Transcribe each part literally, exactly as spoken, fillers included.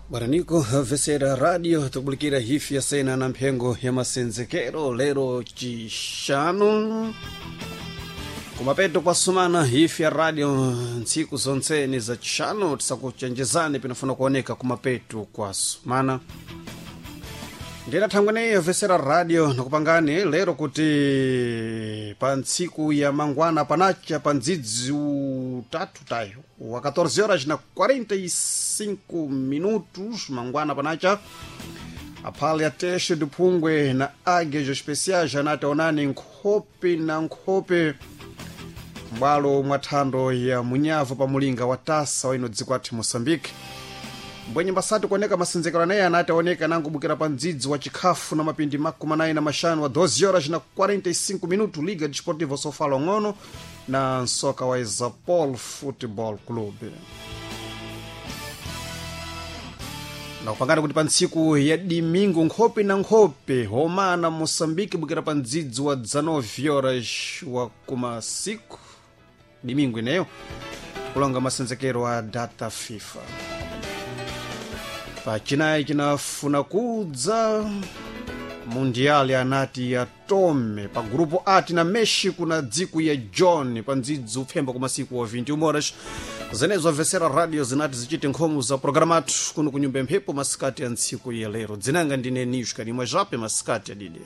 Bwana vesera radio tukubulikira hifi ya sena na mphengo ya masenzekero lero chixanu kumapeto kwasumana hifi ya radio ntsiku zontseni za chixanu tisakuchenjezani pinafuna kuoneka kumapeto kwasumana ndina thangweneyo vesera radio nakupangani lero kuti pa ntsiku ya mangwana panacha pa ndzidzi utatu tayo wa catorze horas na quarenta e cinco minutos mangwana panacha, aphale ateshe diphungwe na águias especiais anati onani nkhope na nkhope m'bwalo mwa thando ya munyavu pa mulinga wa tasa waino dziko athu Moçambique. Mbwenye mbasati kuoneka masenzekero anaye anati aoneka nangubukira pa mdzidzi wa chikhafu na mapindi makumi anayi na maxanu wa doze horas na quarenta e cinco minuto, Liga Desportiva Sofala ng'ono na nsoka wa Isapol Football Club. Nakupangana kuti pa ntsiku ya dimingo, nkhope na nkhope homana Moçambique bukira pa mdzidzi wa dezenove horas wa kumasiku dimingo ineyo, kulonga masenzekero a data FIFA. Pachinayi chinafuna kudza mundiali anati ya tome pa grupo A tina México na dziko ya John pa ndzidzi upfemba ku masiku wa vinte e uma horas. Zenezo avesera radio zinati zichite nkhomo za programatu kuno kunyumba mphepo masikati ya ntsiku ya lero. Dzinanga ndine Nishka nimwe zvape masikati adidi.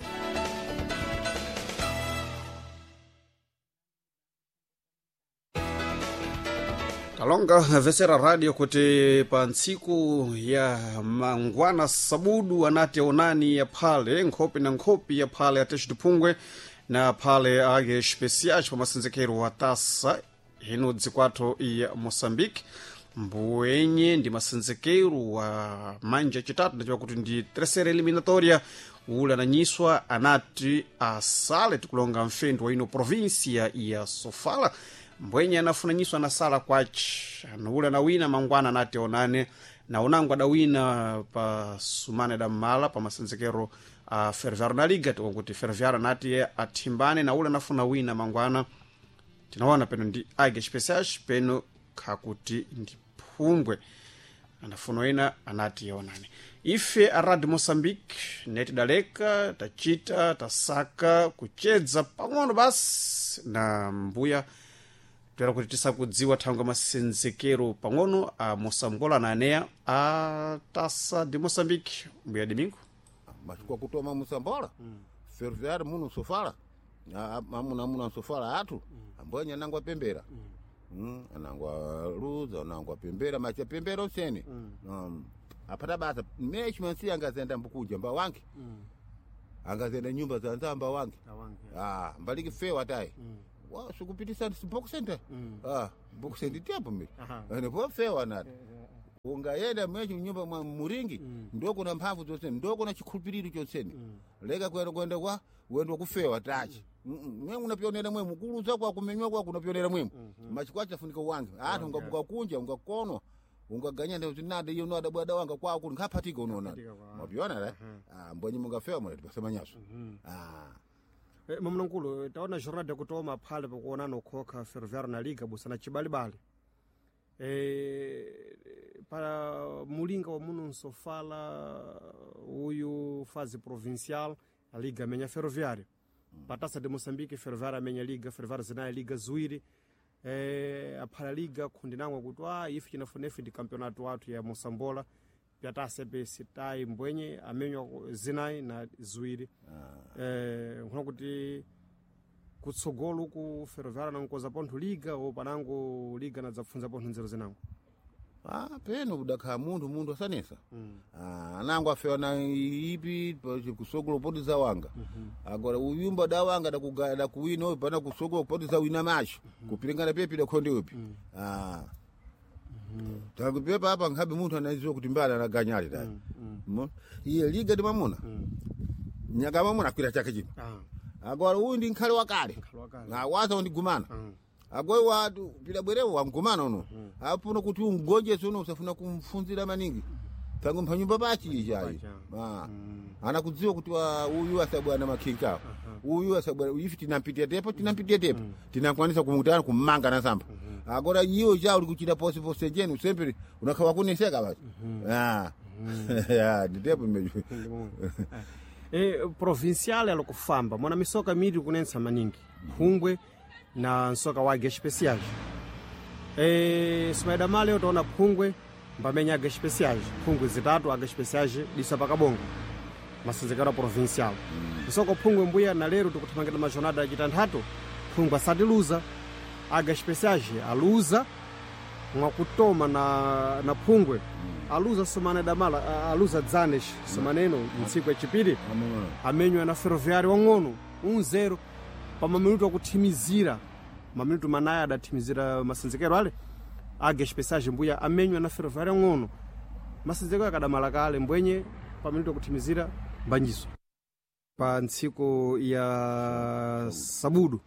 Talonga vesera radio kuti pa ntsiku ya mangwana sabudu anati onani ya phale nkhope na nkhope ya phale atexi diphungwe na phale age especiais pa masenzekero wa tasa ino dzikwatho ya Moçambique. Mbuenye ndi masenzekero wa manja chitatu ndachiwa kuti ndi terceira eliminatoria, ule ananyiswa anati asale tikulonga mfendu wa ino província ya Sofala. Mbwenye anafunanyiswa anasala kwachi ule anawina mangwana anati onane na unango adawina pa sumane da mmala pa masenzekero a Ferroviário na Liga, tikuti Ferroviário anati athimbane na ule anafuna wina mangwana, tinaona peno ndi Águias Especiais peno khakuti ndi phungwe anafuna wina anati onane. Ife a Radio Moçambique netidaleka tachita tasaka kuchedza pang'ono basi na mbuya toera kuti tisakudziwa thangwe masenzekero pang'ono a mosambola na aneya a Tasa de Moçambique, mbuya Domingo. Machukua kutoma musambola mm. Ferroviário muno Sofala amuna amuna Sofala atu mm. Ambwenya anangwa pembera mm. Mm, anangwa luza anangwa pembera macha pembera usene mm. um, apata basa mechi mansi angazenda mbukuja mba wange mm. Angazenda nyumba za nzamba wange ah mbaliki fewa tai mm. Wa sikupitisa boxente mm. Ah, boxente tiapo mi ene po fewa nati ungayenda mwechi nyumba mwa muringi mm. Ndoko na mphamvu zonse, ndoko na chikhulupiriro chonsene mm. Leka kwenda kwenda kwa wendo kufewa tachi mm. Mwe unapionera mwe mukuluza kwa kumenywa kwa kunapionera mwe mm -hmm. Machikwa chafunika wange atu ungabuka kunja ungakonwa ungaganya ndio zinade iyo nada bwada wanga kwa ku nkhapatika unoona mapiona la ah mbonyi mungafewa mwe tipasemanyaso ah. E, mamnankulu taona jornada kutoma phale pakuonana ukhokha Ferroviário na Liga busana chibalibali e, para mulinga wa muno nsofala uyu fazi provincial a Liga amenya Ferroviário mm. Patasa de Moçambique Ferroviário amenya Liga, Ferroviário zinayi Liga ziwiri e, aphala Liga khundinangwa kuti ah, ife chinafunefe ndi campeonato wathu ya Mosambola pyatasa pe sitai mbwenye amenywa zinayi na ziwiri ah. Eh, nkhuna kuti kutsogolo ku Ferroviário nankoza pontho Liga o panango Liga nadzapfunza pontho nzeru zinango. Ah, peno kudakhala munthu munthu asanesa mm. Ah, anango afewa na ipi kusogolo poti za wanga mm -hmm. Agora uyumba da wanga dakugaya dakuwina uyu pana kusogolo poti za wina macho mm -hmm. Kupilingana pepi dakhonde upi mm. Ah mm. Takupepa apa nkhabe munthu anaziwa kuti mbali anaganyali tayi mm. Mm. Iye Liga ndi mamuna mm. Nyaka mamuna akwira chake chino ah. Agora uyu ndi nkhale wakale waza undigumana mm. Agora watu pila bwerewo wangumana uno mm. Apuno kuti ungonjese uno usafuna kumfunzira maningi tangu mphanyumba pachi ichayi ah. mm. Anakudziwa kuti wa uyu asabwana makhinkawo uh -huh. Uyu asabwana ifi tinampitia tepo tinampitia tepo mm. Tinakwanisa kumutana kummanga nasamba mm -hmm. Agora iwo cha uri kuchita pose pose jenu sempre unakhawa kuneseka basi. Ah. Ya, nditepo imejo. E, provincial alokufamba mwana misoka miri kunensa maningi phungwe na nsoka wa águias especiais. E, simaida male utaona phungwe mbamenya águias especiais, phungwe zitatu águias especiais disa pakabongo masenzekero a provincial. Nsoko phungwe mbuya na lero tikuthamangira majonada acitanthatu phungwe asatiluza, águias especiais aluza mwakutoma na, na phungwe aluza somana damala a- aluza dzanes somaneno mtsiku yachipiri amenywa na ferroviário wang'ono um zero pa maminuto akuthimizira maminuto manayi adathimizira masenzekero ale águia especiais mbuya amenywa na ferroviário wang'ono masenzekero akadamala kale mbwenye pa minuto akuthimizira mbanjiso pa ntsiku ya sabudu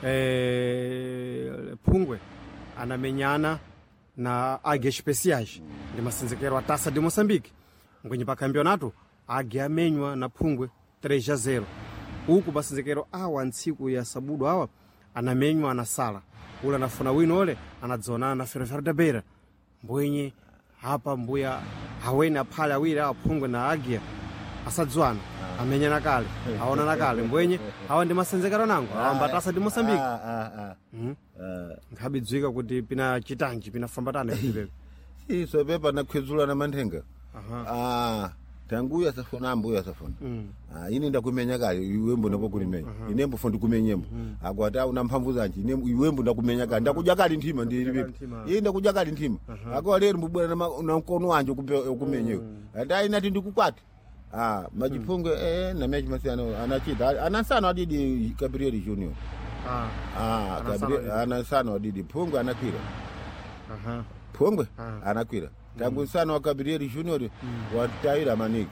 eh, phungwe anamenyana na águia especiais ndi masenzekero a taça de moçambique ngwenye pa campeonato águia amenywa na phungwe três a zero uku masenzekero awa ntsiku ya sabudu awa anamenywa anasala ule anafuna wino ole anadzonana na ferroviário da beira mbwenye apa mbuya awene aphale awiri awa phungwe na águia asadzwana amenyana kale aonana kale mbwenye awa ndi masenzekero nango awamba taça de moçambique. Ah ah ah. Ah. Nkhabidzwika kuti pina chitanji pinafambatana ipepe. Iso pepa nakhwedzula na manthenga. Ah, tanguya safuna ambuya safuna. Ah, ine ndakumenya kale iwembo ndapokulimenya. Ine mbofo ndikumenyembo. Akwati una mphamvu zanji ine iwembo ndakumenya kale ndakudya kale nthima ndi ilipepo. nthima. Ine ndakudya kale nthima. Akwa lero mbubwera na ma- na mkono wanje kupe- kumenyewe. Ati inati ndikukwati. Ah, majiphungwe eh na mechi masiyano anachita. Anasano adidi Gabriel Junior. Ah, Ah, Anasano Gabriel anasano adidi phungwe anakwira. aha. Phungwe Ah. anakwira tangu nsana wa Gabriel Junior wataira maningi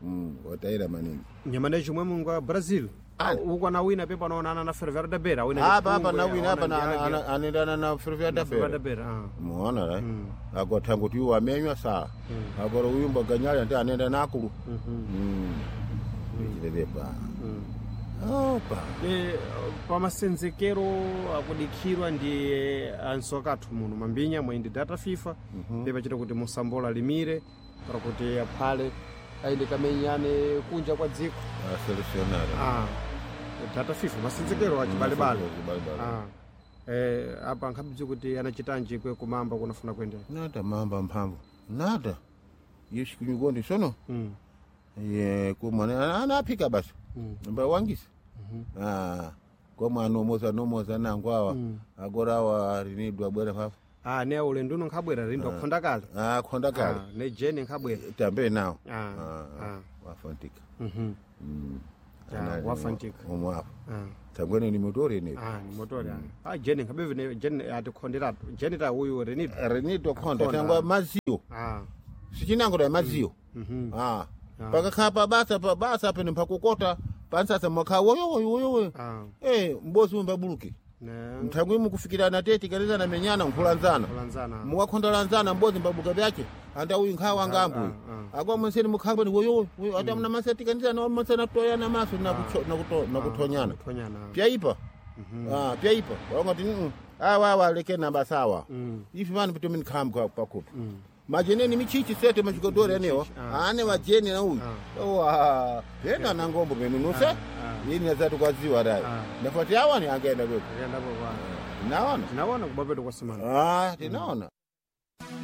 mm, wataira maningi Nyamane chomwe mungu wa Brazil. Ah. Uku anawina pepo anaonana na Ferroviário da Beira. Awina ndi apa apa Phungwe, nawina apa aona ndi Águia. na- anendana na Ferroviário da Ferroviário da Beira Beira. Ah. muona ra agora tangu ti wamenywa saa agora uyumba ganyali ante anenda nakulu mm. ichilelepa opa E, pamasenzekero akudikhirwa ndi ansoka athu muno mambinya mwe ndi data FIFA pepachita kuti musambola limire para kuti aphale aende kamenyane kunja kwa dziko. Selecionado. Ah. Data FIFA masenzekero achibalebale. Chibalebale. Ah. Eh, apa nkhabidzi kuti anachitanji kwe kumamba kunafuna kuendera. Nada mamba mphamvu nada yeshikunyukondi sono Mm. ye kumwana anaphika basi mbawangisa ah komwe anomoza nomoza nango awa agora awa rinidwa abwera papo. Ah, ne ulendo uno nkhabwera rindo akhonda kale. Ah, khonda kale. Ah, ne jeni nkhabwera. Tambe nawo. Ah, ah. Wafantika. Mhm. Ah, wafantika. Omwe apo Ah. tangwene ni motori ne. Ah, ni motori. Ah, jeni nkhabeve ne jeni atikhonderatu. Jeni ta uyu renito. Rinidwa khonda Khonda. tangwa maziyo Ah. sichinango da maziyo. Mhm. Ah, pakakhala pabasa pabasa pene mpakukota pansasa mwakhala woyo woyo woyo woyo. Ah. Eh, mbozi umbabuluke Ne. mthangwi mukufikirana teti kanizana menyana nkhulanzana. Kulanzana. Mukakhondalanzana mbozi mbabuka vyache anda uyu nkhawa ngambuyu akwa monseni mukhangwe ni woyo woyo ata mna masatikanizana masana toyana maso nakucho- nakuto- nakuthonyana. Thonyana. Pyaipa ah pyaipa wangati mm awa awa leke namba sawa ifi vanhu kuti minikhamba pakupa majeneni michichi sete machigodori anewa ane vajeni na uyu owa pena na ngombo penu nuse ini nazati kwaziwa dai ndafati awani angaenda kwepo Akaenda kwa. naona Tinaona kubapeto kwa semana. ah tinaona.